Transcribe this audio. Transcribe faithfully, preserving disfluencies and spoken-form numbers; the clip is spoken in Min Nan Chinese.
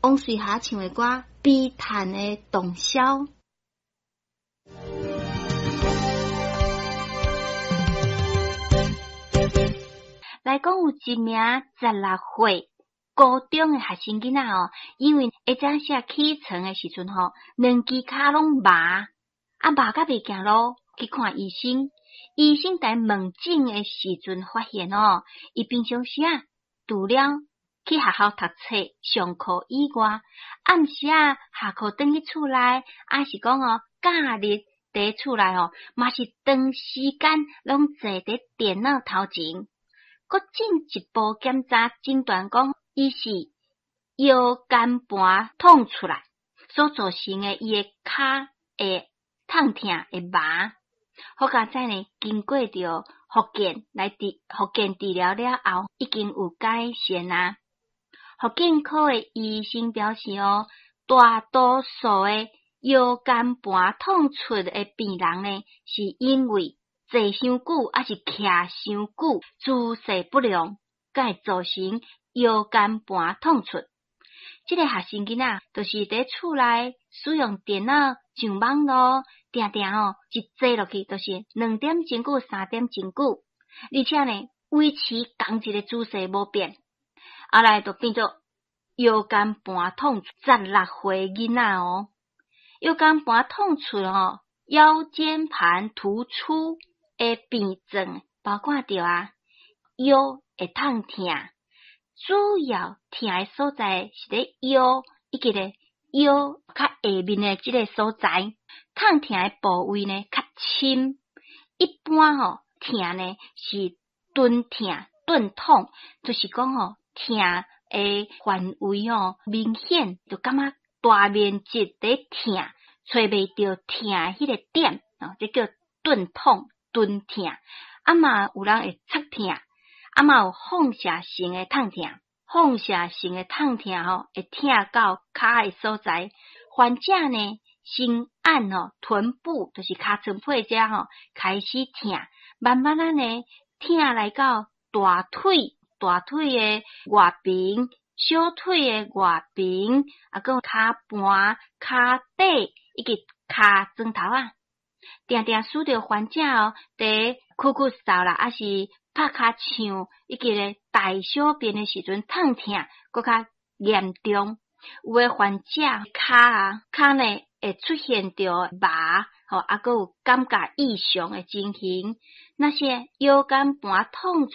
王瑞霞唱的歌《悲嘆的洞簫》。來講有一名十六歲高中的學生囡仔哦，因為下早時起床的時陣吼，兩支跤攏麻，啊麻甲袂行路，去看醫生。醫生佇問診的時陣發現哦，伊平常時啊，除了去學校讀冊、上課以外，暗時啊下課轉去厝內，抑是講哦假日佇厝內吼，嘛是長時間攏坐佇電腦頭前。閣進一步檢查診斷講，伊是腰間盤痛出來所造成的，伊的跤會痛疼會麻。好佳哉呢，經過著復健來治復健治療了後，已經有改善啊。復健科的醫生表示哦，大多數的腰間盤痛出的病人呢，是因為坐傷久，抑是徛傷久，姿勢不良，才會造成腰間盤痛出。這個學生囡仔，就是佇厝內使用電腦上網路，定定吼一坐落去，就是兩點鐘久、三點鐘久，而且呢維持仝一個姿勢無變，後來就變做腰間盤痛。十六歲囡仔哦，腰間盤痛出吼，腰間盤突出的病症，包括著啊腰會痛疼，主要疼的所在是佇腰以及咧腰較下面的這個所在，痛疼的部位呢較深。一般吼疼呢是鈍疼、鈍痛，就是講吼疼的範圍吼明顯，就感覺大面積佇疼，揣袂著疼的彼個點，哦，這叫鈍痛、鈍疼。啊嘛有人會刺疼，啊嘛有放射性的痛疼，放射性的痛疼吼會疼到跤的所在。患者呢先按吼臀部，就是尻川背遮吼開始疼，慢慢仔呢疼來到大腿、大腿的外邊、小腿的外邊，啊，閣有跤盤、跤底以及跤踭頭仔，定定使著患者哦，佇咳咳嗽啦，抑是拍尻槍，以及咧大小便的時陣痛疼，閣較嚴重。有的患者跤啊，跤呢會出現著麻，吼，啊，閣有感覺異常的情形。若是腰間盤痛